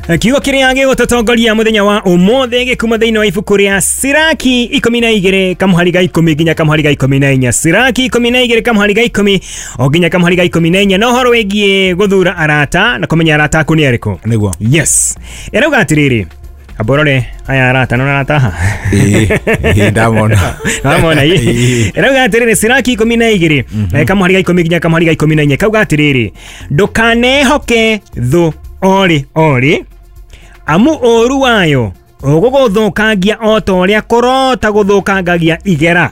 Kiugo kĩrĩa gĩgũtũtongoria mũthenya wa ũmũthĩ gĩkuma thĩinĩ wa ibuku rĩa Siraki 12 kamũhari ga 10 nginya kamũhari ga 14. Siraki 12 kamũhari ga 10 o nginya kamũhari ga 14, na ũhoro wĩgiĩ gũthura arata na kũmenya arata aku nĩ arĩkũ. Nĩguo. Yes, ĩrauga atĩrĩrĩ, amborore aya arata nona arata haha. Ĩĩ, ndamona. Wamona Ĩĩ. ĩrauga atĩrĩrĩ, Siraki 12 kamũhari ga 10 nginya kamũhari ga 14, kauga atĩrĩrĩ, ndũkanehoke thũ orĩ orĩ, amu ũũru wayo ũgũgũthũkangia o ta ũrĩa kũrota gũthũkangagia igera.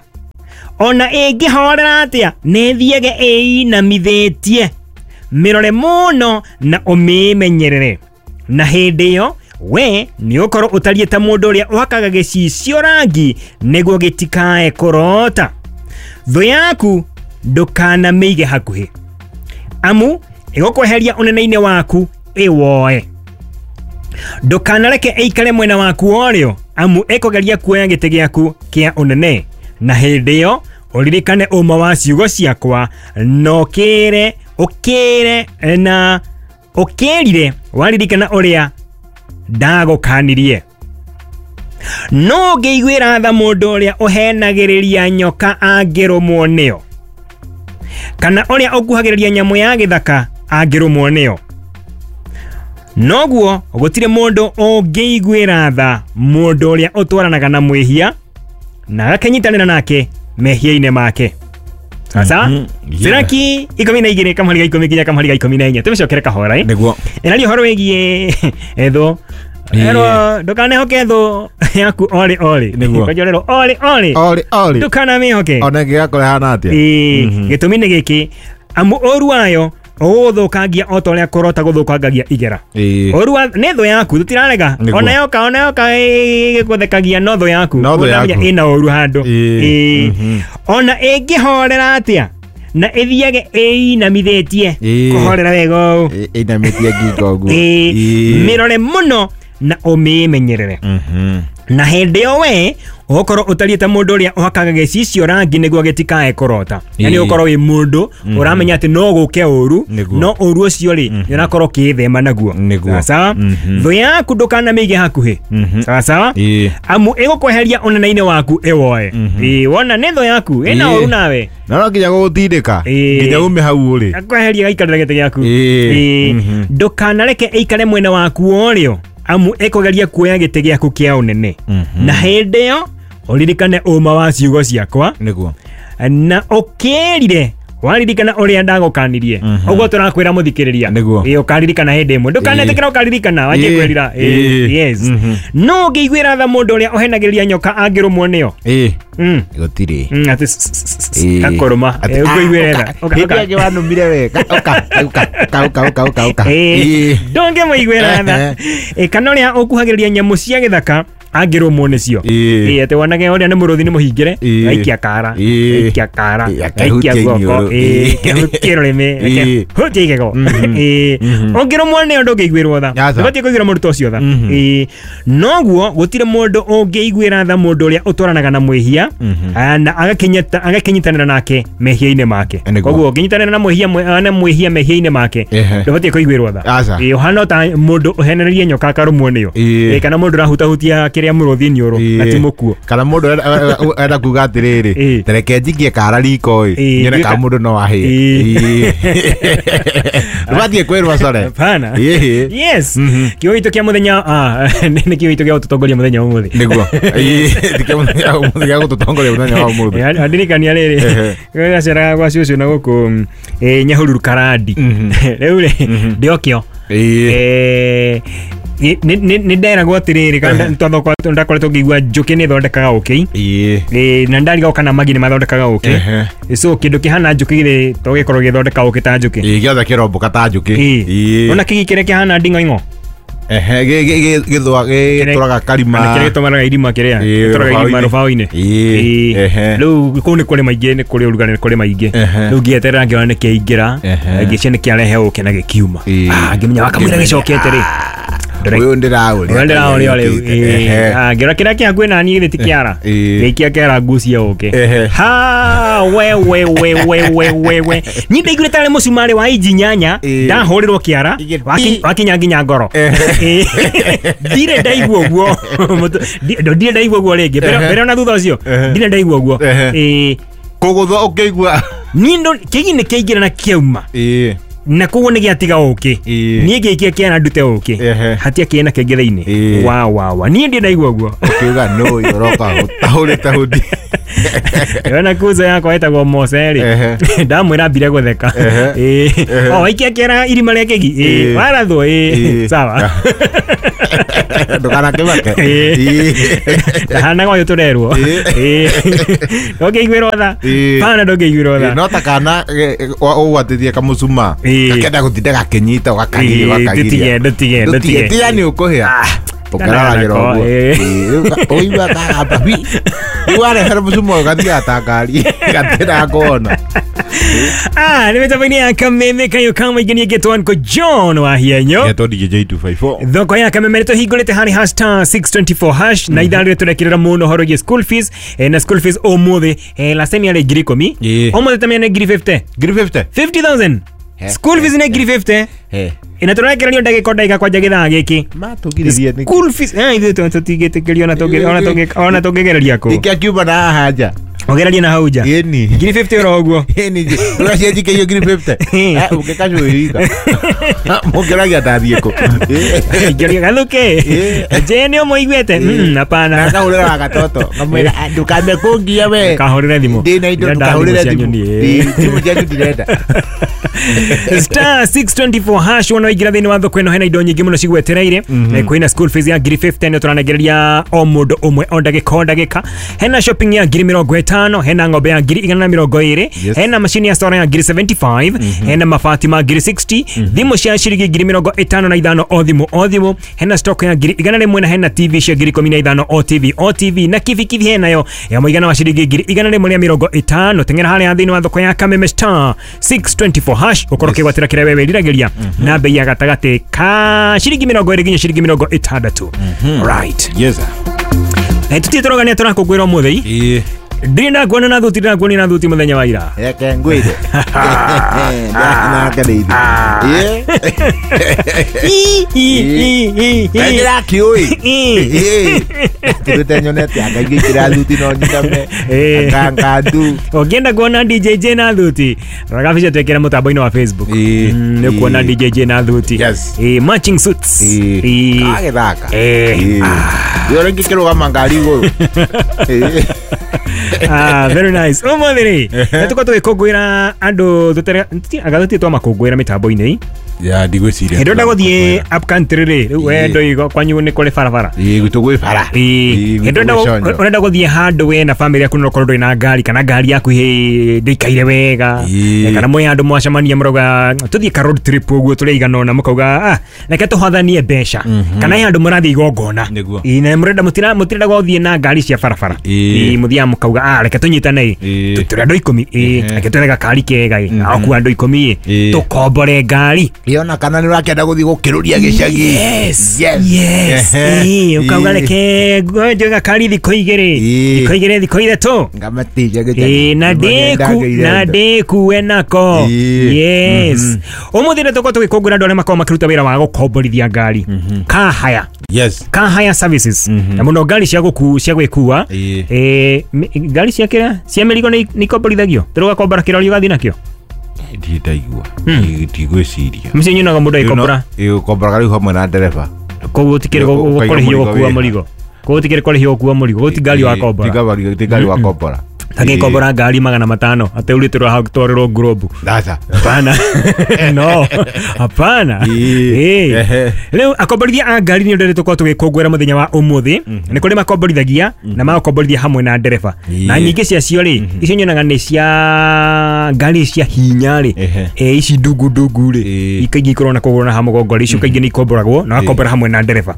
Ona ĩngĩhorera atĩa, nĩ ĩthiage ĩinamithĩtie. Mĩrore mũno na ũmĩmenyerere, na hĩndĩ ĩyo we nĩ ũkorwo ũtariĩ ta mũndũ ũrĩa ũhakaga gĩcicio rangi nĩguo gĩtikae kũrota. Thũ yaku ndũkanamĩige hakuhĩ, amu ĩgũkweheria ũnene-inĩ waku ĩwoe. Ndũkanareke ĩikare mwena waku orĩo, amu ĩkũgeria kuoya gĩtĩ gĩaku kĩa ũnene. Na hĩndĩ ĩyo ũririkane ũma wa ciugo ciakwa, na ũkĩre ũkĩre na ũkĩrire waririkana ũrĩa ndagũkanirie. No ũngĩiguĩra tha mũndũ ũrĩa ũhenagĩrĩria nyoka angĩrũmwo nĩyo, kana ũrĩa ũkuhagĩrĩria nyamũ ya gĩthaka angĩrũmwo nĩyo, noguo gũtirĩ mũndũ ũngĩiguĩra tha mũndũ ũrĩa ũtwaranaga na mwĩhia na agakĩnyitanĩra nake mehia-inĩ make. Sasa Yeah. Siraki 12 kamũhari ga 10 nginya kamũhari ga 14, tũmĩcokere kahora ĩ. Nĩguo. Ĩraria ũhoro wĩgiĩ thũ. Ĩĩ. Erwo ndũkanehoke thũ yaku orĩ orĩ. Nĩguo. Kwanja ũrerwo orĩ orĩ, Orĩ orĩ. ndũkanamĩhoke. Ona ĩngĩgakorwo ĩhana atĩa. Ĩĩ, gĩtũmi nĩ gĩkĩ, amu ũru wayo ũgũgũthũkangia o ta ũrĩa kũrota gũthũkangagia igera. Ĩĩ. Ũru wa nĩ thũ yaku, tũtirarega. Nĩguo. Ona yoka, ona yoka ĩgũthekagia, no thũ yaku. No thũ Ũramenya yaku. ĩna ũru handũ. Ĩĩ. Ĩĩ. Mhm. Ona ĩngĩhorera atĩa na ĩthiage ĩinamithĩtie, Ĩĩ. kũhorera wega ũũ. Ĩinamĩtie ngingo ũguo. Ĩĩ. Ĩĩ. Mĩrore mũno na ũmĩmenyerere, na hĩndĩ ĩyo we ũgũkorwo ũtariĩ ta mũndũ ũrĩa ũhakaga gĩcicio rangi nĩguo gĩtikae kũrota. Yani Ĩĩ. ũkorwo wĩ mũndũ ũramenya atĩ no gũke ũru, Nĩguo. no ũru ũcio rĩ, nĩ ũrakorwo ũkĩĩthema naguo. Nĩguo. Sawa sawa. Thũ yaku ndũkanamĩige hakuhĩ. Sawa sawa. Ĩĩ. Amu ĩgũkweheria ũnene-inĩ waku ĩwoe. Ĩĩ, wona nĩ thũ yaku ĩna Ĩĩ. ũru nawe. Na no nginya gũgũtindĩka Ĩĩ. nginya ume hau ũrĩ. Akweheria gaikarĩra gĩtĩ gĩaku. Ĩĩ. Ĩĩ. Ndũkanareke ĩikare mwena waku orĩo, amu ĩkũgeria kuoya gĩtĩ gĩaku kĩa ũnene. Na hĩndĩ ĩyo ũririkane ũma wa ciugo ciakwa, Nĩguo. na ũkĩrire waririkana ũrĩa ndagũkanirie. Ũguo tũrakwĩra mũthikĩrĩria. Nĩguo. Ĩĩ, ũkaririkana hĩndĩ ĩmwe, ndũkanetĩkĩra ũkaririkana wanjie Ĩĩ. kwĩrira. Ĩĩ, Ĩĩ. yes. No ũngĩiguĩra tha mũndũ ũrĩa ũhenagĩrĩria nyoka angĩrũmwo nĩyo. Ĩĩ. Mm. Gũtirĩ. Atĩ Ĩĩ. gakũrũma. Atĩ, Ĩĩ, ũkũiguĩra ah, tha. ũka. Ũka, Hĩndĩ ũka. ĩngĩ wanumire we. Ũka, ũka, ũka, ũka, ũka, ũka, ũka. Ĩĩ, Ĩĩ. ndũngĩmũiguĩra tha. Ĩĩ, kana ũrĩa ũkuhagĩrĩria nyamũ cia gĩthaka angĩrũmwo nĩcio. Ĩĩ. Ĩĩ, atĩ wonage ũrĩa nĩ mũrũthi nĩ mũhingĩre, Ĩĩ. gaikia kara, Ĩĩ. gaikia kara, Ĩĩ, gaikia akehutia guoko, iniũrũ. ĩĩ, Ĩĩ. kehutie rũrĩmĩ, Ĩĩ. kehutie igego. Ĩĩ, ũngĩrũmwo nĩyo ndũngĩiguĩrwo tha. Aca. Ndũbatiĩ kũiguĩra mũndũ ta ũcio tha. Ĩĩ, noguo gũtirĩ mũndũ ũngĩiguĩra tha mũndũ ũrĩa ũtwaranaga na mwĩhia, na agakĩnyitanĩra nake mehia-inĩ make. Nĩguo. Koguo ũngĩnyitanĩra na mwĩhia na mwĩhia mehia-inĩ make, Ehe. ndũbatiĩ kũiguĩrwo tha. Aca. Ĩĩ, ũhana ta mũndũ ũhenererie nyoka akarũmwo nĩyo. Ĩĩ. Ĩĩ, kana mũndũ ũrahutahutia kĩrĩa mũrũthi iniũrũ na ti mũkuo. Kana mũndũ enda kuga atĩrĩrĩ, Ĩĩ. tereke njikie kara riko ĩ, Ĩĩ, nyone kana nduĩka- mũndũ no ahĩe. Ĩĩ. Ndũbatiĩ kwĩrwo core. Hapana. Ĩĩ. Yes. Kiugo gitũ kĩa mũthenya, nĩ kiugo gitũ gĩa gũtũtongoria mũthenya wa ũmũthĩ. Nĩguo. Ĩĩ, ti kĩa mũthenya wa ũmũthĩ, gĩa gũtũtongoria mũthenya wa ũmũthĩ. Ĩĩ, andirikania rĩrĩ, Ehe. gaceraga gwa cũcũ na gũkũ Nyahururu Karandi. Rĩu rĩ, ndĩokĩo. Ĩĩ. Nĩ nderagwo atĩrĩrĩ, kana ndakoretwo ngĩigua njũkĩ nĩ ĩthondekaga ũkĩ. Ĩĩ. Ĩĩ, na ndarigagwo kana magi nĩ mathondekaga ũkĩ. Ehe. So kĩndũ kĩhana njũkĩ githĩ to gĩkorwo gĩthondeka ũkĩ ta njũkĩ. Ĩĩ, gĩothe kĩrombũka ta njũkĩ. Ĩĩ. Ĩĩ. Ona kĩgi kĩrĩa kĩhana nding'oing'o. Ehe, gĩthũa gĩtũraga karima. Kana kĩrĩa gĩtũmaraga irima kĩrĩa Ĩĩ, gĩtũraga irima rũbaũ-inĩ. rũbaũ-inĩ. Ĩĩ, Ĩĩ. ehe. Rĩu kũu nĩ kũrĩ maingĩ, nĩ kũrĩ ũrugarĩ, nĩ kũrĩ maingĩ. Ehe. Rĩu ngĩeterera ngĩona nĩ kĩaingĩra, Ehe. ngĩcia nĩ kĩarehe ũkĩ na gĩkiuma. Ĩĩ. Ah, ngĩmenya wakamũira gĩcokete rĩ. Ũyũ ndĩraũria. Ũrĩa ndĩraũria rĩu. Ngĩra kĩrĩa kĩ hakuhĩ naniĩ githĩ ti kĩara. Gĩikia kĩara ngucie ũkĩ. Ha we we we we we we we. Niĩ ndaiguire tarĩ mũcumarĩ wa inji 8 ndahũrĩrwo kĩara wakinya nginya ngoro. Ndirĩ ndaigua ũguo. Ndirĩ ndaigua ũguo rĩngĩ. Mbere ona thutha ũcio ndirĩ ndaigua ũguo. Kũgũthwo ũkĩigua. Niĩ kĩgi nĩ kĩaingĩra na kĩauma. Na koguo nĩ gĩatiga ũkĩ. Niĩ ngĩikia kĩara ndute ũkĩ. Hatia kĩna kĩngĩ thĩinĩ. Wa wa wa. Niĩ ndirĩ ndaigua ũguo. Ũkiuga no ũroka ũtahũrĩte hundi. Ona kuzo yakwa ĩtagwo Mose rĩ. Ndamwĩra ambire gũtheka. O waikia kĩara irima rĩa kĩgi. Warathwo. Sawa. Ndũkanakĩmake. Ndahanaga ũyũ tũrerwo. Ndũngĩiguĩrwo tha. Bana ndũngĩiguĩrwo tha. No ta kana ũgwatĩtie kamũcuma. Gakenda gũtinda gakĩnyita ũgakagiria ũgakagiria. Ndũtige ndũtige. Tiga nĩ ũkũhĩa. Ũkararagĩra ũguo. Ũigua kagamba wi. Rĩu warehera mũcuma ũyũ gathiaga ta ngari. Gatiendaga kuona. Nĩ mĩtambo-inĩ ya Kameme kayo kama igenie getwo Uncle John wa Hienyo. Getwo DJ 254. Thoko ya Kameme nĩ tũhingũrĩte harĩ hash star 624 hash na ithaa rĩrĩ tũrekĩrĩra mũno ũhoro wĩgiĩ school fees na school fees ũmũthĩ last time yarĩ 10,000 ũmũthĩ tamenya nĩ 50,000. 50,000. 50,000. School fees nĩ 50,000. Ina tũrekererio ndagĩka o ndagĩka kwanja gĩthaa gĩkĩ. Matũgiririe nĩkĩ? School fees ithuĩ tũtingĩtĩkĩrio ona tũngĩgereria kũ. Nĩkĩ akiuma na haha nja? Ũgererie na hau nja. Ĩni. 50,000 oro ũguo. Ĩni. Ũgacianjikĩirio 50,000. Ũngĩkacũĩika. Mũngĩragia ndathiĩ kũ. Ingĩoria gathuke. Je nĩ ũmũiguĩte? Hapana. Ngahũrĩra gatoto. Ngamwĩra ndũkambe kũngia we. Kahũrĩre thimũ. Ndĩna indo ndũkahũrĩre thimũ. Thimũ cianyu ndirenda. Star 624 hash wona waingĩra thĩinĩ wa thoko ĩno hena indo nyingĩ mũno cigwetereire. Kwĩna school fees ya 50,000 nĩ tũranengereria o mũndũ ũmwe o ndagĩka o ndagĩka. Hena shopping ya 50,000, hena ng'ombe ya 120,000, hena machine ya solar ya 75,000, hena mabati ma 60,000, thimũ cia ciringi 55,000 o thimũ o thimũ, hena stock ya 100,000 na hena TV cia 15,000 o TV o TV na kibikibi henayo ya mũigana wa ciringi 150,000. Teng'era harĩa thĩinĩ wa thoko ya Kameme star 624 hash ũkorwo ũkĩgwatĩra kĩrĩa wewe wĩriragĩria na bei ya gatagatĩ ka ciringi 20 nginya ciringi 60. Right. Yes. Tũtirĩ tũrogania tũrakũngũĩra ũmũthĩ. Ndirĩ ndakuona na thuti, ndirakuona na thuti mũthenya wa ira. Reke ngwĩre. Ndanakeneire. Ndĩrakĩũĩ. Tũrĩte nyonete anga ingĩkĩra thuti no nyitame. Anga ndu. Ũngĩenda kuona DJ J na thuti, rora gabica twĩkĩre mũtambo-inĩ wa Facebook. Nĩ ũkuona DJ J na thuti. Matching suits. Gagĩthaka. Ũrĩa ingĩkĩrũgama ngari igũrũ. Very nice. Ũmũthĩ rĩ, nĩtũkorwo tũgĩkũngũĩra andũ anga tũtirĩ twamakũngũĩra mĩtambo-inĩ. Ya ndigwĩciria. Hĩndĩ ĩrĩa gũthiĩ up country rĩ, rĩu we ndũigo kwanyu nĩ kũrĩ barabara. Gwitũ gwĩ bara. Hĩndĩ ĩrĩa ũrenda gũthiĩ handũ we na bamĩrĩ yaku no ũkorwo ndũrĩ na ngari kana ngari yaku ndĩikaire wega kana mwĩ handũ mwacemania mũrauga tũthiĩ ka road trip ũguo tũrĩ aigana ũna mũkauga reke tũhothanie mbeca kana he handũ mũrathiĩ igongona na mũrenda mũtirenda gũthiĩ na ngari cia barabara mũthiaga mũkauga reke tũnyitane tũrĩ andũ 10 reke twethe gakari kega akua andũ 10 tũkombore ngari. Ona kana nĩ ũrakĩenda gũthiĩ gũkĩrũria gĩcagi. Yes. Yes. Ũkauga reke njoe gakari thikũ igĩrĩ. Thikũ igĩrĩ thikũ ithatũ. Ngamatĩria gĩcagi. Na ndĩkue nako. Yes. Ũmũthĩ nĩ tũkorwo tũgĩkũngũĩra andũ arĩa makoragwo makĩruta wĩra wa gũkomborithia ngari. Car hire. Yes. Car hire services. Na mũno ngari cia gwĩkua. Ngari cia kĩrĩa cia mĩrigo nĩ ikomborithagio. Tũrĩ ũgakombora kĩrori ũgathiĩ nakĩo. Ndaigua. Ndigwĩciria. Mũciĩ nyonaga mũndũ agĩkombora. Ũkombora rĩu hamwe na ndereba. Koguo ũtikĩrĩ gũkũrĩhio gũkua mũrigo. Koguo ũtikĩrĩ kũrĩhio gũkua mũrigo. Koguo ti ngari wakombora. Ti ngari wakombora. Agĩkombora ngari 500 atĩ ũrĩtĩrwo hau twarĩrwo ngurobu. Aca. Hapana. No. Hapana. Rĩu akomborithia a ngari nĩ ũndũ tũkorwo tũgĩkũngũĩra mũthenya wa ũmũthĩ. Nĩ kũrĩ makomborithagia na magakomborithia hamwe na ndereba. Na nyingĩ ciacio rĩ, icio nyonaga nĩ cia ngari cia hinya rĩ. Ici ndungu ndungu rĩ, ikaingĩ ikorwo na kũgũrũ na ha mũgongo rĩ, icio kaingĩ nĩ ikomboragwo na wakombora hamwe na ndereba.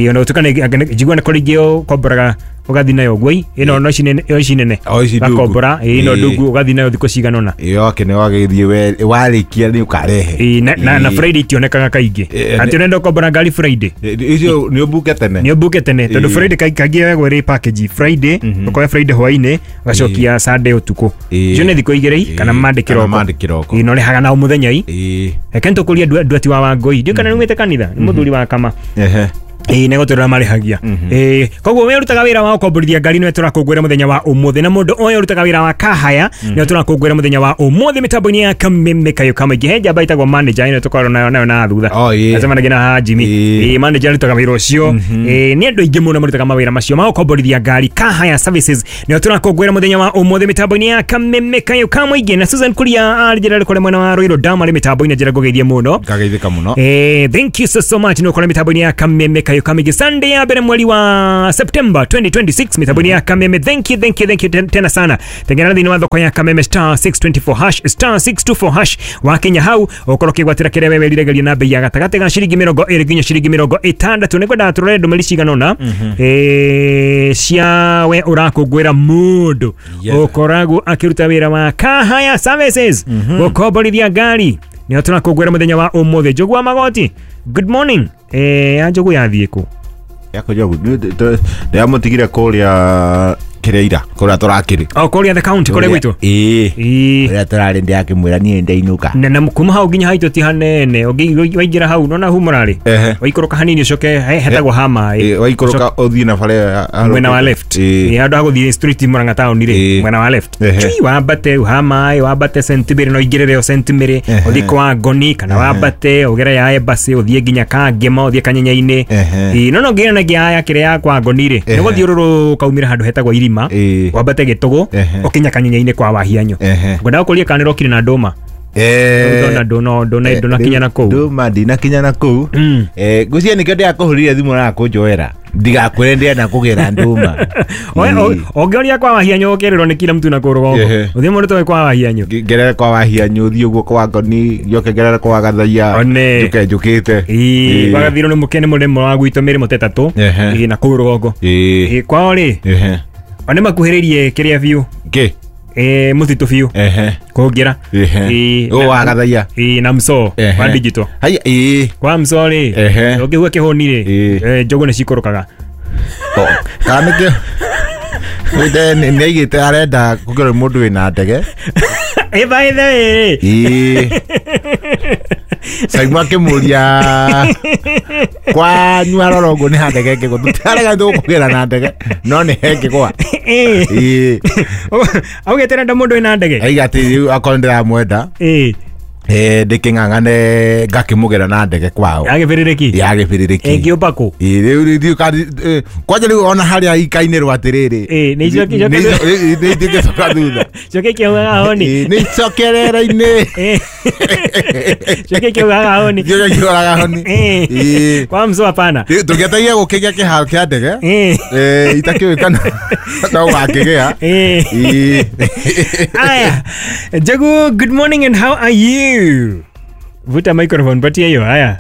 Ona gũtuĩka njigua nĩ kũrĩ ingĩ ũkomboraga Ũgathiĩ nayo ũguo ĩno no ici nene, ici nene. O ici ndungu. Gakombora ĩno Ĩĩ. ndungu, ũgathiĩ nayo thikũ cigana ũna. Yoke nĩ wagĩthiĩ warĩkia nĩ ũkarehe. Ĩĩ, na Friday itionekaga kaingĩ. Ĩĩ, Atĩ ũrenda ũkombora ngari Friday, Icio nĩ ũmbuke tene. nĩ ũmbuke tene tondũ Ĩĩ. Friday kaingĩ yoyagwo ĩrĩ package. Friday ũkoya Friday hwainĩ, ũgacokia Sunday ũtukũ. Ĩĩ. Icio nĩ thikũ igĩrĩ Ĩĩ, kana Monday kana kĩroko. Monday kĩroko. Ĩĩ, na ũrĩhaga na o mũthenya i. Ĩĩ. Reke nĩtũkũrie nduati wa Wangũi, ndiũ kana nĩumĩte kanitha, nĩ mũthuri wa kama. Ehe. Ĩĩ, nĩ gũtũrĩra marĩhagia. Ĩĩ, koguo we ũrutaga wĩra wa ũkomborithia ngari nĩwe tũrakũngũĩra mũthenya wa ũmũthĩ, na mũndũ ũyũ ũrutaga wĩra wa kahaya nĩwe tũrakũngũĩra mũthenya wa ũmũthĩ mĩtambo-inĩ ya Kameme Kayũ Kamaingĩ. He njamba ĩtagwo manager ĩno tũkoragwo nayo na thutha. Oh, ĩĩ. Acemanagia na haha Jimmy. Ĩĩ. Ĩĩ, manager arutaga wĩra ũcio. Ĩĩ, nĩ andũ aingĩ mũno marutaga mawĩra macio ma gũkomborithia ngari. Kahaya Services nĩo tũrakũngũĩra mũthenya wa ũmũthĩ mĩtambo-inĩ ya Kameme Kayũ Kamaingĩ. Na Susan Kuria arĩ njĩra kũrĩa mwena wa Ruiru Dam arĩ mĩtambo-inĩ, njĩra ngũgeithie mũno. Ngageithĩka mũno. Thank you so so much nä ũkora mĩtambo-inĩ ya Kameme Kayũ Kamaingĩ Sunday ya mbere mweri wa September 2026 mĩtambo-inĩ ya Kameme. Thank you, thank you, thank you tena sana. Tengera thĩinĩ wa thoko ya Kameme star 624 hash, star 624 hash, wakinya hau ũkorwo ũkĩgwatĩra kĩrĩa we wĩriragĩria na bei ya gatagatĩ ga ciringi 20 nginya ciringi 60. Nĩngwendaga tũrore ndũmĩrĩri cigana ũna cia we ũrakũngũĩra mũndũ Yes. ũkoragwo akĩruta wĩra wa Kahaya Services gũkomborithia ngari, nĩo tũrakũngũĩra mũthenya wa ũmũthĩ. Njogu wa Magoti, good morning. Ya njogu yathiĩ kũ? Yako njogu ndĩramũtigire kũrĩa kĩrĩa ira kũrĩa tũrakĩrĩ. O kũrĩa the county kũrĩa gwitũ. Ĩĩ. Ĩĩ. Kũrĩa tũrarĩ ndĩrakĩmwĩra niĩ ndainũka. Na kuma hau nginya haitũ ti hanene. Waingĩra hau nona hu mũrarĩ, Ehe. waikũrũka hanini ũcoke hetagwo ha maĩ. Ĩĩ, waikũrũka ũthiĩ na bara ĩyo Mwena wa left. Ĩĩ. Ĩĩ, handũ ha gũthiĩ street Murang'a town rĩ, Ĩĩ. mwena wa left. Ehe. Chui, wambate ha maĩ, wambate St. no ũingĩrĩre o St. Mary, Ehe. ũthiĩ kwa Ngoni kana wambate ũgere ya Embassy ũthiĩ nginya Kangema ũthiĩ Kanyenya-inĩ. Ehe. Ĩĩ, no ngĩra na ya kĩrĩa ya kwa Ngoni rĩ, Ehe. nĩ gũthiũrũrũka umĩre handũ hetagwo Irima, Ĩĩ. wambate Gĩtũgũ Ehe. ũkinya Kanyenya-inĩ kwa Wahianyũ. Ehe. Ngwendaga gũkũria kana nĩũrokire na ndũma. Ndona ndũnakinya na kũu. Ndũma ndinakinya na kũu. Ngwĩciria nĩkĩo ndĩrakũhũrire thimũ na kũnjoera ndigakwĩre ndĩrenda kũgĩra ndũma. Ũngĩoria kwa Wahianyũ ũkĩrĩrwo nĩ kila mtu na kũu rũgongo. Ehe. Ũthiĩ mũndũ toĩ kwa Wahianyũ. Ngerere kwa Wahianyũ thiĩ ũguo kwa Ngoni njoke ngerere kwa Gathaia One. njoke njũkĩte. Ĩĩ, gwagathirwo nĩ mũkene mũrĩmo wa gwitũ mĩrĩmo ta ĩtatũ. Ehe. Ĩĩ, na kũu rũgongo. Ĩĩ. Ĩĩ, kwao rĩ, Ehe. o nĩ makuhĩrĩirie kĩrĩa biũ. Kĩ? Ĩĩ, mũtitũ biũ Ehe. kũngĩra. Ehe. Ĩĩ, Ũũ wa Gathaia. Ĩĩ, na msoo Ehe. wa digital. Haya, ĩĩ. Kwa msoo rĩ, Ehe. ũngĩhua kĩhũni rĩ, Ĩĩ. njũgũ nĩ cikũrũkaga. Kana nĩkĩo nĩ aigĩte arenda kũgerwo mũndũ wĩna ndege. Ĩ, by the way rĩ. Ĩĩ. Saimu akĩmũria kwanyu arora ũguo nĩ ha ndege ĩngĩgwa, tũtirarega tũkũgĩra na ndege no nĩ hengĩgwa. Ĩĩ. Ĩĩ. Augĩte arenda mũndũ wĩna ndege. Aiga atĩ rĩu akorwo ndĩramwenda Ĩĩ. ndĩkĩng'ang'ane ngakĩmũgĩra na ndege kwao. Yagĩbĩrĩrĩki. Ya gĩbĩrĩrĩki. Ĩngĩũmba kũ? Ĩĩ, rĩu rĩu kwanja rĩu ona harĩa ikainĩrwo atĩrĩrĩ, Ĩĩ, nĩ icoki- nĩ itingĩcoka thutha. Coke kĩaugaga honi. Ĩĩ, nĩ icokerera-inĩ. Ĩĩ. Coke kĩaugaga honi. Kĩo kĩoraga honi. Ĩĩ. Ĩĩ. Kwa msoo hapana. Rĩu tũngĩetereire gũkĩgĩa kĩharo kĩa ndege. Ĩĩ. Itakĩũĩ kana no wakĩgĩa. Ĩĩ. Ĩĩ. Aya. Njogu, good morning and how are you? Vuta microphone patia hiyo. Haya.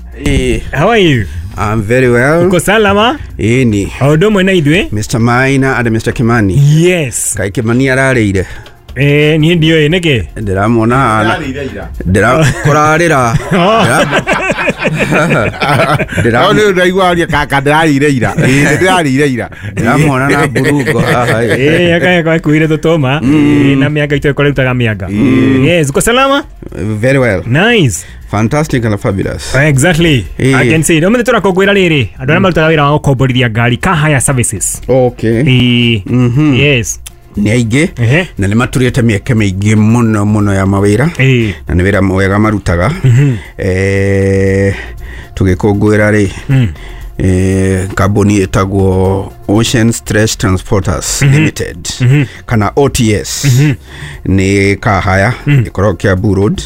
How are you? I'm very well. Uko salama? Ĩni. O ũndũ ũmwe na ithuĩ? Mr. Maina and Mr. Kimani. Yes. Kaĩ Kimani ararĩire? Niĩ ndiũĩ nĩkĩ? Ndĩramuona hana. Ndĩra kũrarĩra. Ndĩra No nĩ ndaigua aria kaka ndĩrarĩire ira. Ĩĩ, nĩ ndĩrarĩire ira. ndĩramuona na mburungo haha. Ĩĩ, akaya kuire tũtũma. Ĩĩ, na mĩanga itũ ĩkorwo mĩanga. Yes, uko salama? Very well. Nice. Fantastic and fabulous. Exactly. Ĩĩ. I can see. Ũmũthĩ tũrakũngũĩra rĩrĩ andũ arĩa marutaga wĩra wa gũkomborithia ngari Kahaya Services. Okay. Ĩĩ. Yes. Nĩ aingĩ Ehe. na nĩ maturĩte mĩeke mĩingĩ mũno mũno ya mawĩra. Ĩĩ. Na nĩ wĩra mwega marutaga. Tũgĩkũngũĩra rĩ, kambuni ĩtagwo Ocean Stretch Transporters Limited kana OTS nĩ Kahaya ĩkoragwo Kiambu Road.